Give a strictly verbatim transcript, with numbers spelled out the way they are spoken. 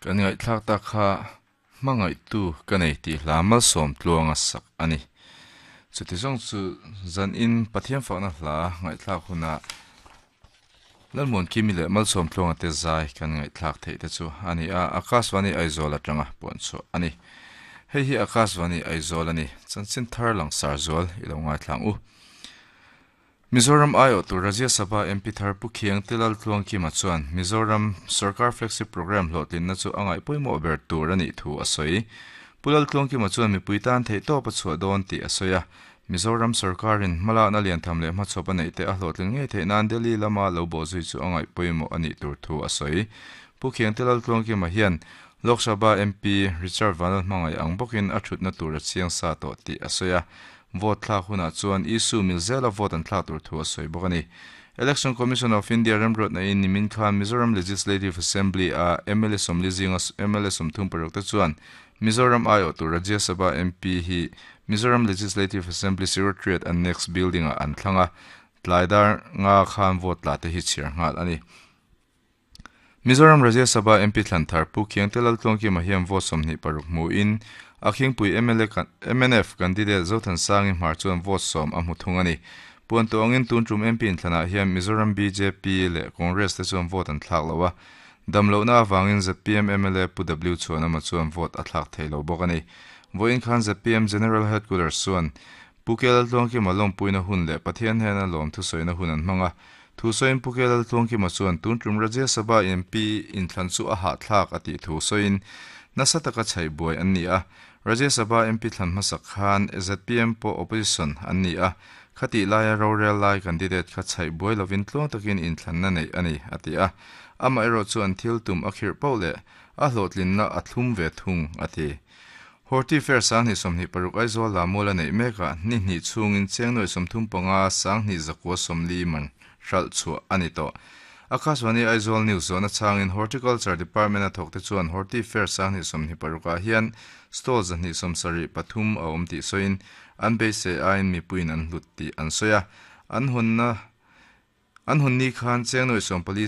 Kan ngaihthlak tak kha hmangaihtu ka nei tih hla malsawm tluanga sak a ni. Chuti zawng chu zan in Pathian fakna hla ngaihthlak hunah Lalmuan Kimi leh malsawm tluanga te zai kan ngaihthlak theih te chu a ni a, Akashvani Aizawl atanga puan chhuah a ni. Hei hi Akashvani Aizawl a ni. Chanchin thar langsar zual i lo ngaithlang u. Mizoram aiawh tur Rajya Sabha M P thar Pu Khiang Tilal Tluangkima chuan Mizoram Sarkar Flagship Programme hlawhtlinna chu a ngaih pawimawh ber tur a nih thu a sawi. Pu Lal Tluangkima chuan mipui tan theih tawp a chhuah dawn tih a sawi a. Mizoram Sarkarin hmalakna liantham leh hmachhawp a neih te a hlawhtlin ngei theih nan Delhi lama lo bawh zui chu a ngaih pawimawh a nih tur thu a sawi. Pu Khiang Tilal Tluangkima hian Lok Sabha M P Richard Vanlal hmangaih ang bawkin a thutna tur a chiang sa tawh tih a sawi a. Vote thlak hunah chuan Isu Milzela vote an thlak tur thu a sawi bawk a ni. Election Commission of India remruatna in nimin khan Mizoram Legislative Assembly a M L A sawmli zinga M L A sawmthum paruk te chuan Mizoram aiawh tur Rajya Sabha M P hi Mizoram Legislative Assembly Secretariat Annex Building ah an thlang a, tlaidar nga khan vote tla te hi chhiar nghal a ni. Mizoram Rajya Sabha M P thlan thar Pu Khiang Telal Tluangkima hian vote sawmhnih paruk hmu in a khingpui M L A M N F candidate Zothan Sangi hmar chuan vote sawm a hmu thung a ni. Puan tawngin tun tum M P in thlanah hian Mizoram B J P leh Congress te chuan vote an thlak lo a. Damlohna awangin Z P M M L A Pu W chuan ama chuan vote a thlak thei lo bawk a ni. Vawiin khan Z P M General Headquarters chuan Pu Kelal Tluangkima lawmpuina hun leh Pathian hena lawm thusawina hun an hmang a. Thu sawiin Pu Kelal Tluangkima chuan tun tum Rajya Sabha M P in thlan chu a hah thlak a tih thu sawiin nasa taka chhaih buai an ni a. Rajya Sabha M P thlan hmasak khan Z P M pawh opposition an ni a. Khati laia rorel lai candidate kha chhaih buai lovin tluang takin in thlanna nei a ni a ti a. Ama erawh chu an thil tum a khirh poh leh a hlawhtlinna a thlum ve thung a ti. Horti Fair sang hnih sawmhnih paruk Aizawl la mual a neih mekah ni hnih chhungin chengnawi sawmthum panga sang hnih zakua sawmli man hralh chhuah a ni tawh. Akashvani Aizawl News zawhna changin Horticulture Department a thawk te chuan Horti Fair sang hnih sawmhnih parukah hian stall zahnih sawmsarih pathum a awm tih sawiin an beisei aiin mipuiin an hlut tih an sawi a. An hunna an hun ni khan chengnawi sawmpali